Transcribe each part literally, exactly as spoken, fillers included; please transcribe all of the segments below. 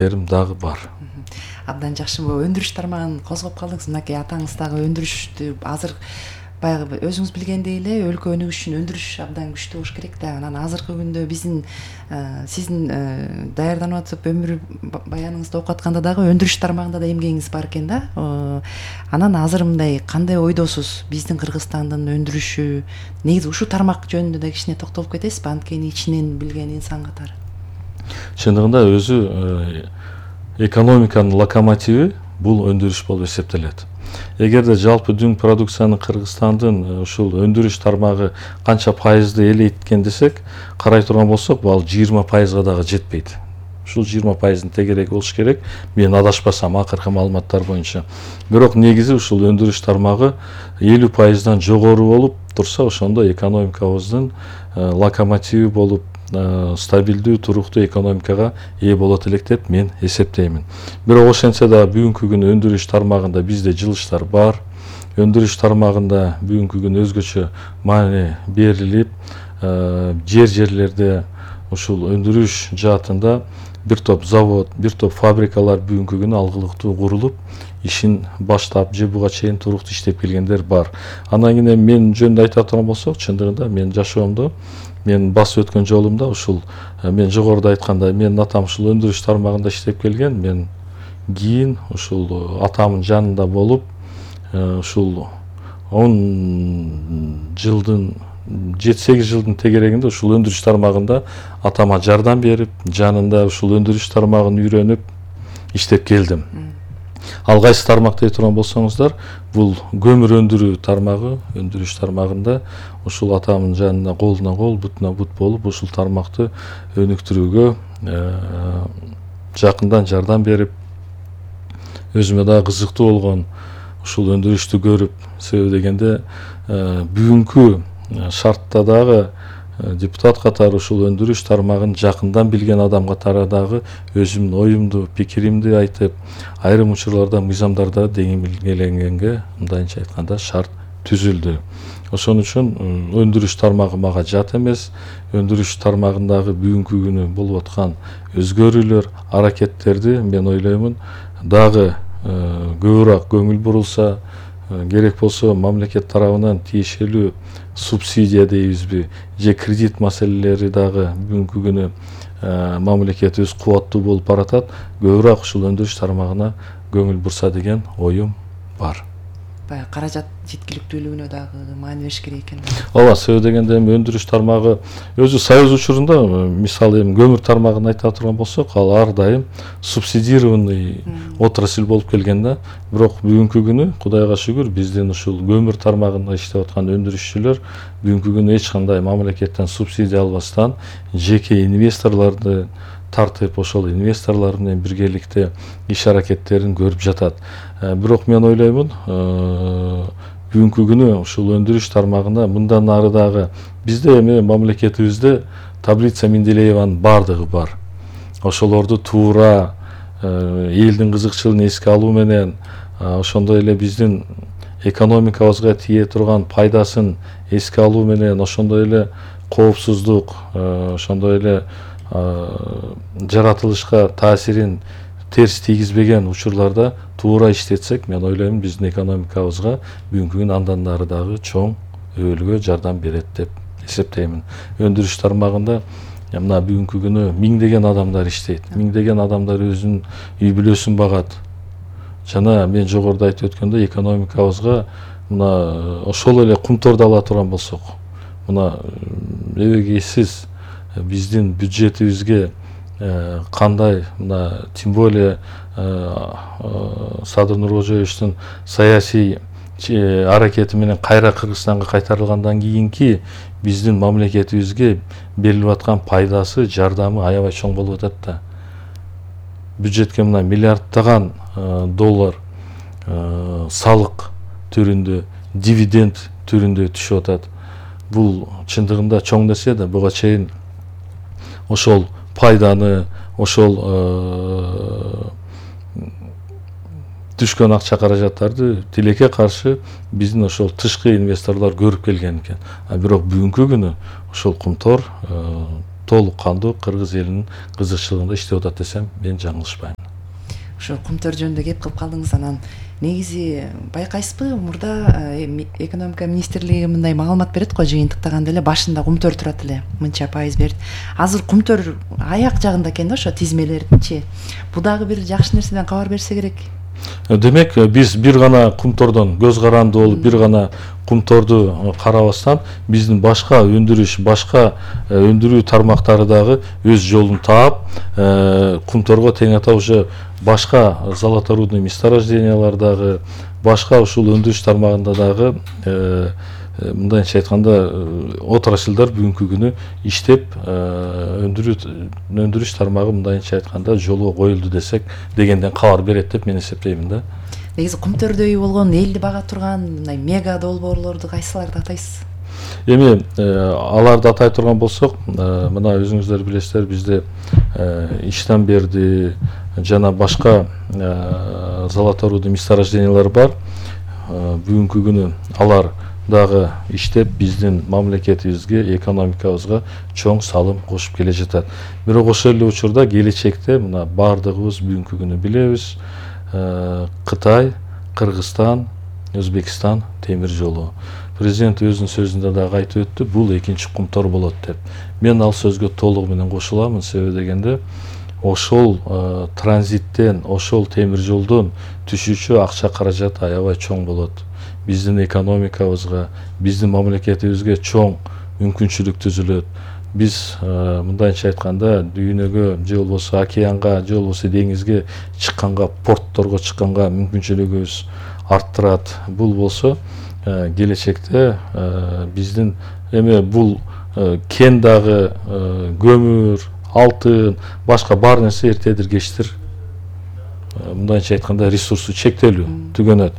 дагы бар. Абдан жакшы. Бул өндүрүш тармагын козгоп калдыңыз. Мынакей атаңыз дагы өндүрүштү азыр баягы өзүңүз билгендей эле өлкө өнүгүш үчүн өндүрүш абдан күчтүү болуш керек да. Анан азыркы күндө биздин сиздин даярданып атып өмүр баяныңызды окуп атканда дагы өндүрүш тармагында да эмгегиңиз бар экен да. Анан азыр мындай кандай ойдосуз? Биздин Кыргызстандын өндүрүшү негизи ушул тармак жөнүндө да кичине токтолуп кетесизби? Анткени ичинен билген инсан катары. Чындыгында өзү экономиканын локомотиви бул өндүрүш болуп эсептелет. Эгерде жалпы дүң продукцияны Кыргызстандын ушул өндүрүш тармагы канча пайызды элейт экен десек, карай турган болсок, бул жыйырма пайызга дагы жетпейт. Ушул жыйырма пайыздын тегереги болуш керек. Мен адашпасам акыркы маалыматтар боюнча. Бирок негизи ушул өндүрүш тармагы элүү пайыздан жогору болуп турса, ошондо экономикабыздын локомотиви болуп стабилдүү, туруктуу экономикага ээ болот элек деп мен эсептеймин. Бирок ошентсе да бүгүнкү күнү өндүрүш тармагында бизде жылыштар бар. Өндүрүш тармагында бүгүнкү күнү өзгөчө маани берилип, жер-жерлерде ушул өндүрүш жаатында бир топ завод, бир топ фабрикалар бүгүнкү күнү алгылыктуу курулуп, ишин баштап же буга чейин туруктуу иштеп келгендер бар. Андан кийин мен жөнүндө айта турган болсок, чындыгында мен жашоомдо мен басып өткөн жолумда ушул мен жогоруда айткандай, менин атам ушул өндүрүш тармагында иштеп келген. Мен кийин ушул атамдын жанында болуп, ушул он жылдын жети сегиз жылдын тегерегинде ушул өндүрүш тармагында атама жардам берип, жанында ушул өндүрүш тармагын үйрөнүп иштеп келдим. Ал кайсы тармак дей турган болсоңуздар, бул көмүр өндүрүү тармагы, өндүрүш тармагында ушул атамдын жанында колуна кол, бутуна бут болуп, ушул тармакты өнүктүрүүгө жакындан жардам берип, өзүмө дагы кызыктуу болгон ушул өндүрүштү көрүп, себеби дегенде бүгүнкү шартта дагы депутат катары ушул өндүрүш тармагын жакындан билген адам катары дагы өзүмдүн оюмду, пикиримди айтып, айрым учурларда мыйзамдарда деңгээленгенге, мындайча айтканда, шарт түзүлдү. Ошон үчүн өндүрүш тармагы мага жат эмес. Өндүрүш тармагындагы бүгүнкү күнү болуп аткан өзгөрүүлөр, аракеттерди мен ойлоймун дагы көбүрөөк көңүл бурулса, керек болсо мамлекет тарабынан тиешелүү субсидия дейбизби, же кредит маселелери дагы бүгүнкү күнү мамлекетибиз кубаттуу болуп баратат. Көбүрөөк ушул өндүрүш тармагына көңүл бурса деген оюм бар. Баягы каражат жеткиликтүүлүгүнө дагы маани бериш керек экен. Ооба, себеби дегенде эми өндүрүш тармагы өзү союз учурунда, мисалы эми көмүр тармагын айта турган болсок, ал ар дайым субсидированный отрасль болуп келген да. Бирок бүгүнкү күнү Кудайга шүгүр, биздин ушул көмүр тармагында иштеп аткан өндүрүшчүлөр бүгүнкү күнү эч кандай мамлекеттен субсидия албастан жеке инвесторлорду тартып, ошол инвесторлор менен биргеликте иш аракеттерин көрүп жатат. Бирок мен ойлоймун, бүгүнкү күнү ушул өндүрүш тармагында мындан ары дагы бизде эми мамлекетибизде таблица Менделееванын бардыгы бар. Ошолорду туура элдин кызыкчылыгын эске алуу менен, ошондой эле биздин экономикабызга тие турган пайдасын эске алуу менен, ошондой эле коопсуздук, ошондой эле жаратылышка таасирин терс тийгизбеген учурларда туура иштетсек, мен ойлоймун биздин экономикабызга бүгүнкү күнү андан ары дагы чоң өбөлгө жардам берет деп эсептеймин. Өндүрүш тармагында мына бүгүнкү күнү миңдеген адамдар иштейт. Миңдеген адамдар өзүнүн үй бүлөсүн багат. Жана мен жогоруда айтып өткөндөй, экономикабызга мына ошол эле кумторду ала турган болсок, мына эбегейсиз биздин бюджетибизге кандай, мына тем более Садыр Нуркожоевичтин саясий аракети менен кайра Кыргызстанга кайтарылгандан кийинки биздин мамлекетибизге берилип аткан пайдасы, жардамы аябай чоң болуп атат да. Бюджетке мына миллиардтаган доллар салык түрүндө, дивиденд түрүндө түшүп атат. Бул чындыгында чоң нерсе да. Буга чейин ошол пайданы, ошол түшкөн акча каражаттарды тилекке каршы биздин ошол тышкы инвесторлор көрүп келген экен. А бирок бүгүнкү күнү ошол кумтор толук кандуу кыргыз элинин кызыкчылыгында иштеп атат десем мен жаңылышпайм. Ошо кумтөр жөнүндө кеп кылып калдыңыз, анан негизи байкайсызбы, мурда экономика министрлиги мындай маалымат берет го, жыйынтыктаганда эле башында кумтөр турат эле, мынча пайыз берет. Азыр кумтөр аяк жагында экен да, ошо тизмелердинчи. Бул дагы бир жакшы нерседен кабар берсе керек. Демек биз бир гана кумтордон көз каранды болуп, бир гана кумторду карабастан биздин башка өндүрүш, башка өндүрүү тармактары дагы өз жолун таап, кумторго тең ата уже башка золоторудный месторождениялар дагы, башка ушул өндүрүш тармагында дагы мындайча айтканда отраслдар бүгүнкү күнү иштеп, өндүрүш тармагы мындайча айтканда жолго коюлду десек дегенден кабар берет деп мен эсептеймин да. Негизи кумтөрдөй болгон, элди бага турган мындай мега долбоорлорду кайсыларды атайсыз? Эми аларды атай турган болсок, мына өзүңүздөр билесиздер, бизде иштен берди жана башка золоторудный месторождениялар бар. Бүгүнкү күнү алар дагы иштеп биздин мамлекетибизге, экономикабызга чоң салым кошуп келе жатат. Бирок ошол эле учурда келечекте мына бардыгыбыз бүгүнкү күнү билебиз, Кытай, Кыргызстан, Өзбекстан темир жолу. Президент өзүнүн сөзүндө дагы айтып өттү, бул экинчи кумтор болот деп. Мен ал сөзгө толугу менен кошуламын, себеби дегенде ошол транзиттен, ошол темир жолдон түшүүчү акча каражат аябай чоң болот. Биздин экономикабызга, биздин мамлекетибизге чоң мүмкүнчүлүк түзүлөт. Биз мындайча айтканда дүйнөгө же болбосо океанга, же болбосо деңизге чыкканга, портторго чыкканга мүмкүнчүлүгүбүз арттырат. Бул болсо келечекте биздин эми бул кен дагы, көмүр, алтын, башка бар нерсе эртедир кечтир мындайча айтканда ресурсу чектелүү түгөнөт.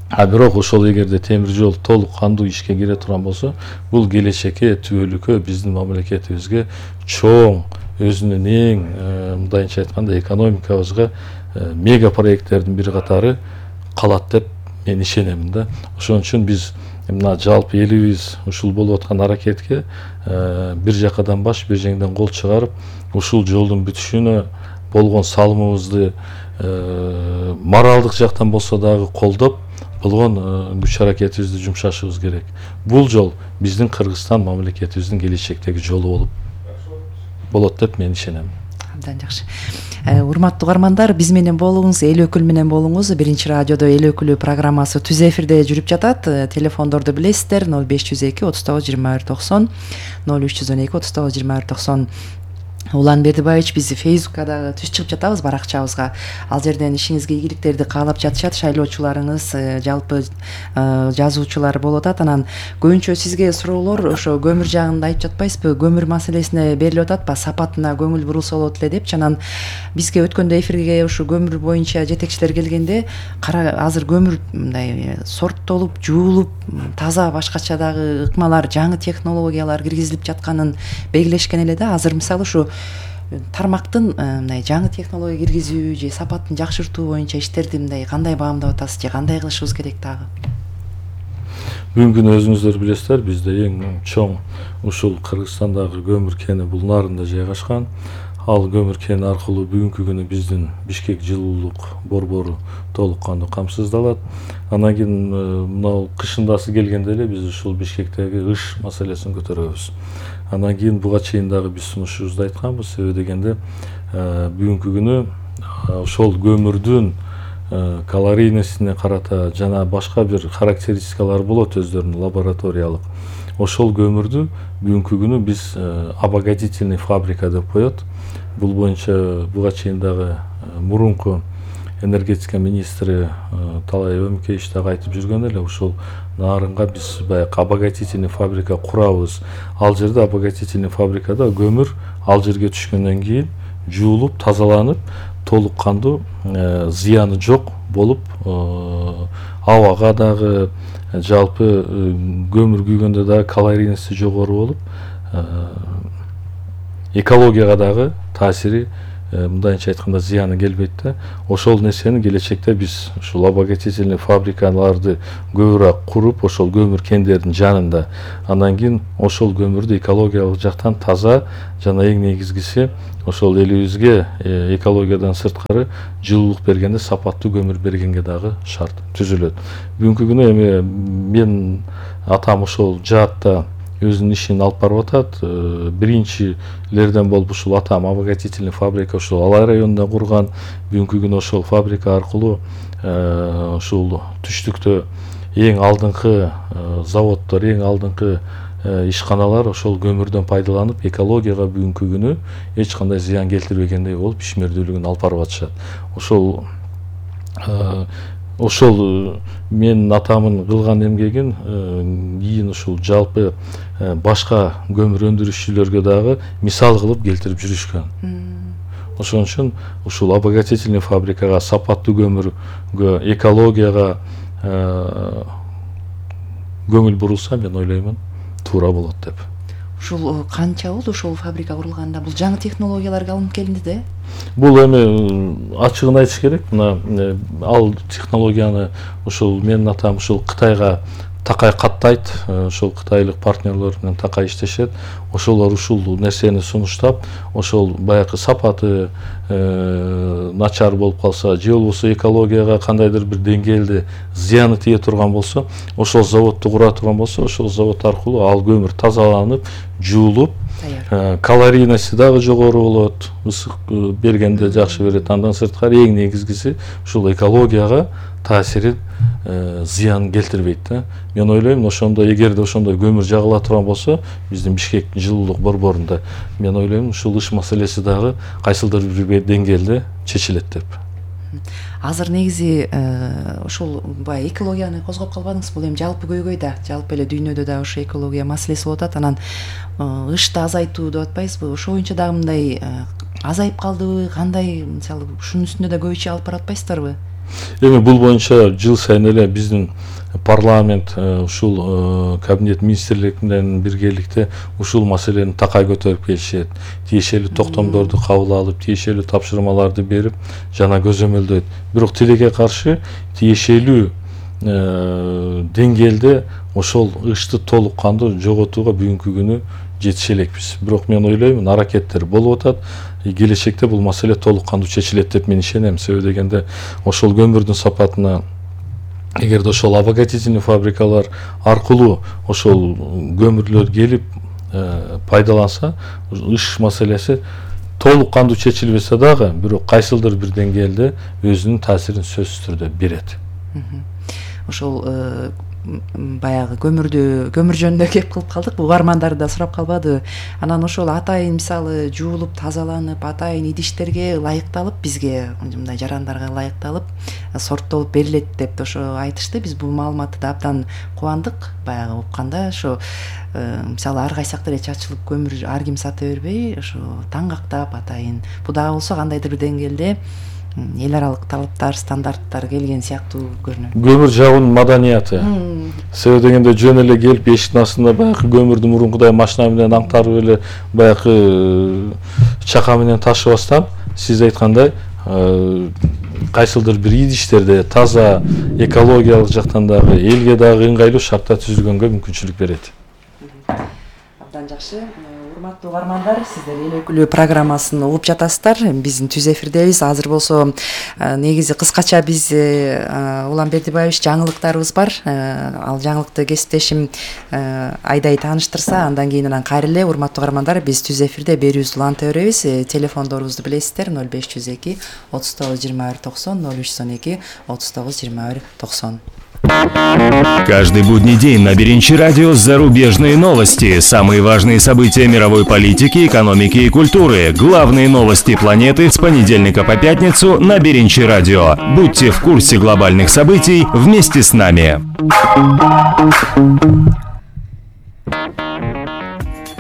А бирок ошол эгерде темир жол толук кандуу ишке кире турган болсо, бул келечекке түбөлүккө биздин мамлекетибизге чоң өзүнүн эң мындайча айтканда экономикабызга мега проекттердин бир катары калат деп мен ишенемин да. Ошон үчүн биз мына жалпы элибиз ушул болуп аткан аракетке бир жакадан баш, бир жеңден кол чыгарып, ушул жолдун бүтүшүнө болгон салымыбызды моралдык жактан болсо дагы колдоп, болгон күч аракетибизди жумшашыбыз керек. Бул жол биздин Кыргызстан мамлекетибиздин келечектеги жолу болуп болот деп мен ишенем. Абдан жакшы. Урматтуу угармандар, биз менен болуңуз, эл өкүл менен болуңуз. Биринчи радиодо эл өкүлү программасы түз эфирде жүрүп жатат. Телефондорду билесиздер: ноль беш жүз эки отуз тогуз жыйырма бир токсон, ноль үч жүз он эки отуз тогуз жыйырма бир токсон. Улан Бердибаевич, биз Фейсбукка дагы түз чыгып жатабыз, баракчабызга. Ал жерден ишиңизге ийгиликтерди каалап жатышат шайлоочуларыңыз, жалпы жазуучулар болуп атат. Анан көбүнчө сизге суроолор ошо көмүр жагында айтып жатпайсызбы? Көмүр маселесине берилип атат, сапатына көңүл бурулса болот эле депчи. Анан бизге өткөндө эфирге ушу көмүр боюнча жетекчилер келгенде, кара азыр көмүр мындай сорттолуп, жуулуп, таза башкача дагы ыкмалар, жаңы технологиялар киргизилип жатканын белгилешкен эле да. Азыр мисалы ушу тармактын мындай жаңы технология киргизүү же сапатын жакшыртуу боюнча иштерди мындай кандай баамдап атасыз же кандай кылышыбыз керек дагы? Бүгүнкү күнү өзүңүздөр билесиздер, бизде эң чоң ушул Кыргызстандагы көмүр кени бул нарында жайгашкан. Ал көмүр кени аркылуу бүгүнкү күнү биздин Бишкек жылуулук борбору толук кандуу камсыздалат. Анан кийин мына кышындасы келгенде эле биз ушул Бишкектеги ыш маселесин көтөрөбүз. Анан кийин буга чейин дагы биз сунушубузду айтканбыз, себеби дегенде бүгүнкү күнү ошол көмүрдүн калорийнесине карата жана башка бир характеристикалары болот өздөрүнүн лабораториялык. Ошол көмүрдү бүгүнкү күнү биз обогатительный фабрика деп коет. Бул боюнча буга чейин дагы мурунку энергетика министри Талай Өмүкеевич дагы айтып жүргөн эле, ушул нарынга биз баягы обогатительный фабрика курабыз. Ал жерде обогатительный фабрикада көмүр ал жерге түшкөндөн кийин жуулуп, тазаланып, толук кандуу зыяны жок болуп, абага дагы жалпы көмүр күйгөндө дагы калорийнеси жогору болуп, экологияга дагы таасири мындайча айтканда зыяны келбейт да. Ошол нерсени келечекте биз ушул обогатительный фабрикаларды көбүрөөк куруп, ошол көмүр кендердин жанында, андан кийин ошол көмүрдү экологиялык жактан таза жана эң негизгиси ошол элибизге экологиядан сырткары жылуулук бергенде сапаттуу көмүр бергенге дагы шарт түзүлөт. Бүгүнкү күнү эми мен атам ошол жаатта өзүнүн ишин алып барып атат. Биринчилерден болуп ушул атам обогатительный фабрика ушул Алай районунда курган. Бүгүнкү күнү ошол фабрика аркылуу ушул түштүктө эң алдыңкы заводдор, эң алдыңкы ишканалар ошол көмүрдөн пайдаланып, экологияга бүгүнкү күнү эч кандай зыян келтирбегендей болуп ишмердүүлүгүн алып барып атышат. Ошол ошол менин атамын кылган эмгегин кийин ушул жалпы башка көмүр өндүрүшчүлөргө дагы мисал кылып келтирип жүрүшкөн. Ошон үчүн ушул обогатительный фабрикага, сапаттуу көмүргө, экологияга көңүл бурулса, мен ойлоймун, туура болот деп. Ушул канча болду ушул фабрика курулганда? Бул жаңы технологияларга алынып келинди да? Бул эми ачыгын айтыш керек. Мына ал технологияны ушул менин атам ушул Кытайга такай каттайт. Ошол кытайлык партнерлер менен такай иштешет. Ошолор ушул нерсени сунуштап, ошол баягы сапаты начар болуп калса, же болбосо экологияга кандайдыр бир деңгээлде зыяны тие турган болсо, ошол заводду кура турган болсо, ошол завод аркылуу ал көмүр тазаланып, жуулуп, калорийности дагы жогору болот, ысык бергенде жакшы берет. Андан сырткары эң негизгиси ушул экологияга таасирин зыян келтирбейт да. Мен ойлойм, ошондо эгерде ошондой көмүр жагыла турган болсо, биздин Бишкектин жылуулук борборунда, мен ойлойм, ушул иш маселеси дагы кайсылдыр бир деңгээлде чечилет деп. Азыр негизи ушул бай экологияны козгоп калбадыңыз, бул эми жалпы көйгөй да, жалпы эле дүйнөдө да ошо экология маселеси болуп атат. Анан ышты азайтуу деп атпайсызбы? Ошо боюнча дагы мындай азайып калдыбы, кандай, мисалы, ушунун үстүндө да көп иш алып барып атпайсыздарбы? Эми бул боюнча жыл сайын эле биздин парламент ушул кабинет министрлигинен биргеликте ушул маселени такай көтөрүп келишет. Тиешелүү токтомдорду кабыл алып, тиешелүү тапшырмаларды берип, жана көзөмөлдөйт. Бирок тилекке каршы тиешелүү деңгээлде ошол ышты толук кандуу жоготууга бүгүнкү күнү жетише элекпиз. Бирок мен ойлойм, аракеттер болуп атат. Келечекте бул маселе толук кандуу чечилет деп мен ишенем. Себеби дегенде ошол көмүрдүн сапатына, эгерде ошол обогатительный фабрикалар аркылуу ошол көмүрлөр келип пайдаланса, ыш маселеси толук кандуу чечилбесе дагы, бирок кайсылдыр бир деңгээлде өзүнүн таасирин сөзсүз түрдө берет. Ошол баягы көмүрдү көмүр жөнүндө кеп кылып калдык, угармандар да сурап калбады. Анан ошол атайын мисалы жуулуп, тазаланып, атайын идиштерге ылайыкталып, бизге мындай жарандарга ылайыкталып, сорттолуп берилет деп ошо айтышты. Биз бул маалыматты да абдан кубандык. Баягы укканда ошо мисалы ар кайсакта эле чачылып көмүр ар ким сата бербей, ошо таң кактап атайын. Бул дагы болсо кандайдыр бир деңгээлде эл аралык талаптар, стандарттар келген сыяктуу көрүнөт. Көмүр жагуунун маданияты. Себеби дегенде жөн эле келип эшиктин астында баягы көмүрдү мурункудай машина менен аңтарып эле баягы чака менен ташыбастан, сиз айткандай кайсылдыр бир идиштерде таза, экологиялык жактан дагы, элге дагы ыңгайлуу шарттар түзүлгөнгө мүмкүнчүлүк берет. Абдан жакшы. Урматтуу угармандар, сиздер эл өкүлү программасын угуп жатасыздар. Биздин түз эфирдебиз. Азыр болсо негизи кыскача биз Улан Бердибаевич жаңылыктарыбыз бар. Ал жаңылыкты кесиптешим Айдай тааныштырса, андан кийин анан кайра эле урматтуу угармандар, биз түз эфирде берүүбүздү уланта беребиз. Телефондорубузду билесиздер: ноль беш жүз эки отуз тогуз жыйырма бир токсон, ноль үч жүз эки отуз тогуз жыйырма бир токсон. Каждый будний день на Беринчи радио зарубежные новости, самые важные события мировой политики, экономики и культуры, главные новости планеты с понедельника по пятницу на Беринчи радио. Будьте в курсе глобальных событий вместе с нами.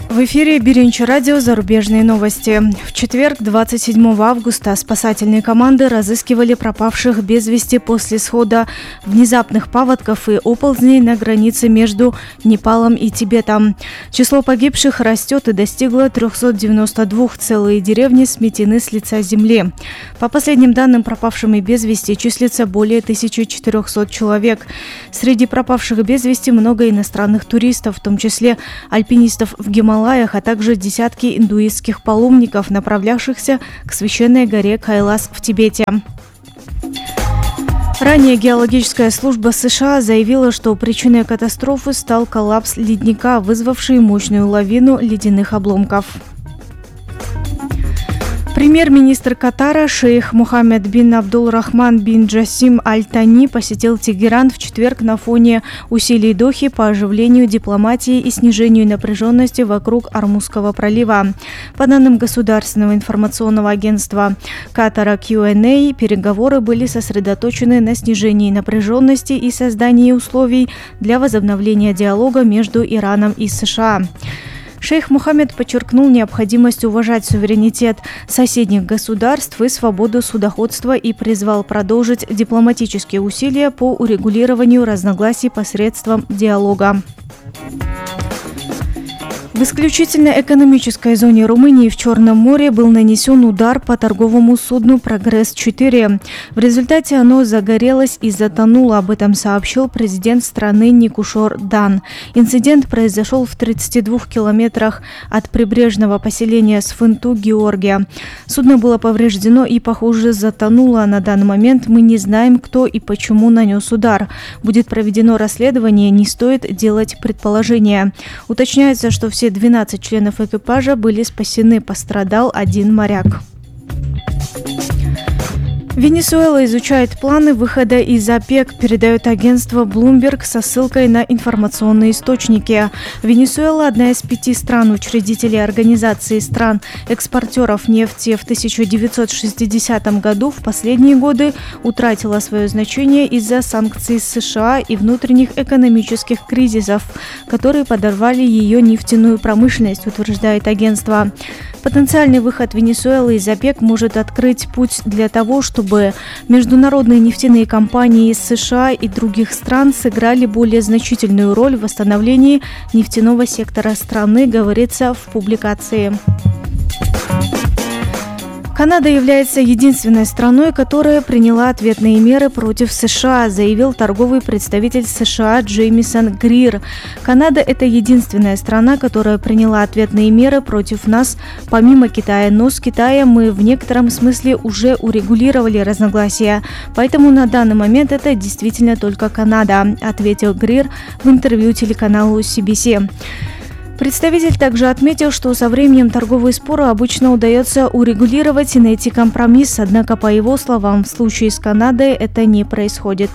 В В эфире Биринчи радио «Зарубежные новости». В четверг, двадцать седьмого августа, спасательные команды разыскивали пропавших без вести после схода внезапных паводков и оползней на границе между Непалом и Тибетом. Число погибших растет и достигло трёхсот девяноста двух, целые деревни сметены с лица земли. По последним данным, пропавшими без вести числится более тысячи четырёхсот человек. Среди пропавших без вести много иностранных туристов, в том числе альпинистов в Гималаях, а также десятки индуистских паломников, направлявшихся к священной горе Кайлас в Тибете. Ранее геологическая служба США заявила, что причиной катастрофы стал коллапс ледника, вызвавший мощную лавину ледяных обломков. Премьер-министр Катара шейх Мухаммед бин Абдул-Рахман бин Джасим Аль-Тани посетил Тегеран в четверг на фоне усилий Дохи по оживлению дипломатии и снижению напряженности вокруг Ормузского пролива. По данным Государственного информационного агентства Катара кью энд эй, переговоры были сосредоточены на снижении напряженности и создании условий для возобновления диалога между Ираном и США. Шейх Мухаммед подчеркнул необходимость уважать суверенитет соседних государств и свободу судоходства и призвал продолжить дипломатические усилия по урегулированию разногласий посредством диалога. В исключительно экономической зоне Румынии в Черном море был нанесен удар по торговому судну «Прогресс четыре». В результате оно загорелось и затонуло, об этом сообщил президент страны Никушор Дан. Инцидент произошел в тридцати двух километрах от прибрежного поселения Сфынту, Георгия. Судно было повреждено и, похоже, затонуло. На данный момент мы не знаем, кто и почему нанес удар. Будет проведено расследование, не стоит делать предположения. Уточняется, что все двенадцать членов экипажа были спасены, пострадал один моряк. Венесуэла изучает планы выхода из ОПЕК, передает агентство Bloomberg со ссылкой на информационные источники. Венесуэла – одна из пяти стран-учредителей Организации стран-экспортеров нефти. В тысяча девятьсот шестидесятом году в последние годы утратила свое значение из-за санкций США и внутренних экономических кризисов, которые подорвали ее нефтяную промышленность, утверждает агентство. Потенциальный выход Венесуэлы из ОПЕК может открыть путь для того, чтобы международные нефтяные компании из США и других стран сыграли более значительную роль в восстановлении нефтяного сектора страны, говорится в публикации. Канада является единственной страной, которая приняла ответные меры против США, заявил торговый представитель США Джеймисон Грир. Канада – это единственная страна, которая приняла ответные меры против нас, помимо Китая. Но с Китаем мы в некотором смысле уже урегулировали разногласия. Поэтому на данный момент это действительно только Канада, ответил Грир в интервью телеканалу си би си. Представитель также отметил, что со временем торговые споры обычно удается урегулировать и найти компромисс, однако, по его словам, в случае с Канадой это не происходит.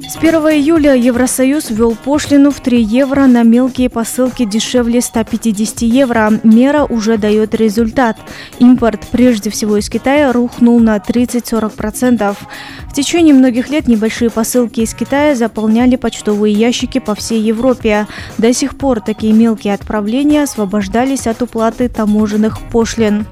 С первого июля Евросоюз ввел пошлину в три евро на мелкие посылки дешевле ста пятидесяти евро. Мера уже дает результат. Импорт, прежде всего из Китая, рухнул на тридцать-сорок процентов. В течение многих лет небольшие посылки из Китая заполняли почтовые ящики по всей Европе. До сих пор такие мелкие отправления освобождались от уплаты таможенных пошлин.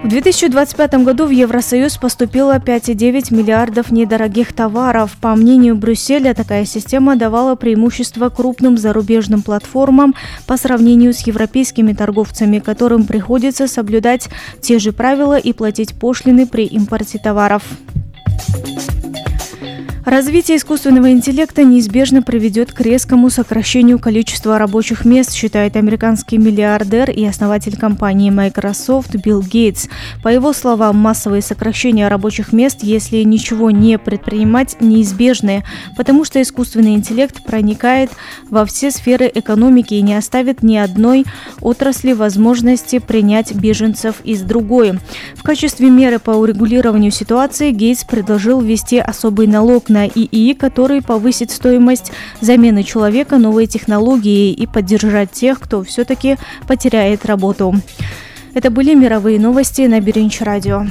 В две тысячи двадцать пятом году в Евросоюз поступило пять целых девять десятых миллиардов недорогих товаров. По мнению Брюсселя, такая система давала преимущество крупным зарубежным платформам по сравнению с европейскими торговцами, которым приходится соблюдать те же правила и платить пошлины при импорте товаров. Развитие искусственного интеллекта неизбежно приведет к резкому сокращению количества рабочих мест, считает американский миллиардер и основатель компании Microsoft Билл Гейтс. По его словам, массовые сокращения рабочих мест, если ничего не предпринимать, неизбежны, потому что искусственный интеллект проникает во все сферы экономики и не оставит ни одной отрасли возможности принять беженцев из другой. В качестве меры по урегулированию ситуации Гейтс предложил ввести особый налог на ИИ, который повысит стоимость замены человека новой технологией и поддержать тех, кто все-таки потеряет работу. Это были мировые новости на Биринчи радио.